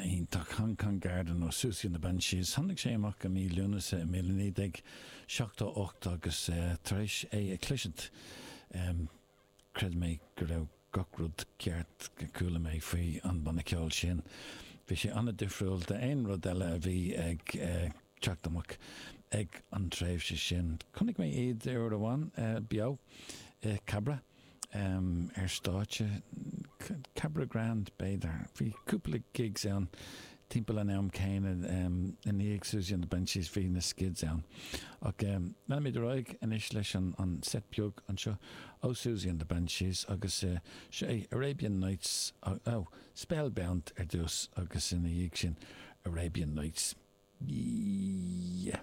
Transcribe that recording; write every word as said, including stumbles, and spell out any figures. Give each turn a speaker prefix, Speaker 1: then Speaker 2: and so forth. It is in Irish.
Speaker 1: An-iontach Hong Kong Garden ó Siouxsie and the Banshees. Tháinig sé amach i mí Lúnasa i míle naoi déag seachtó ocht agus tar éis é a chloisint, chreid mé go raibh gach rud ceart go chuala mé faoi an banna ceoil sin. Bhí sé an-difriúil d'aon rud eile a bhí ag teacht amach ag an tréimhse sin. Chonaic mé iad uair amháin beo i Cabra. ar stáitse, Cabra Grand b'fhéidir. Bhí cúpla gigs ann timpeall an am céanna i ndiaidh Siouxsie and the Banshees bhí na Skids ann. Ach leanfaimid ar aghaidh anois leis an set beag anseo ó Siouxsie and the Banshees agus seo é Arabian Nights, oh, Spellbound ar dtús agus ina dhiaidh sin Arabian Nights. Yeah.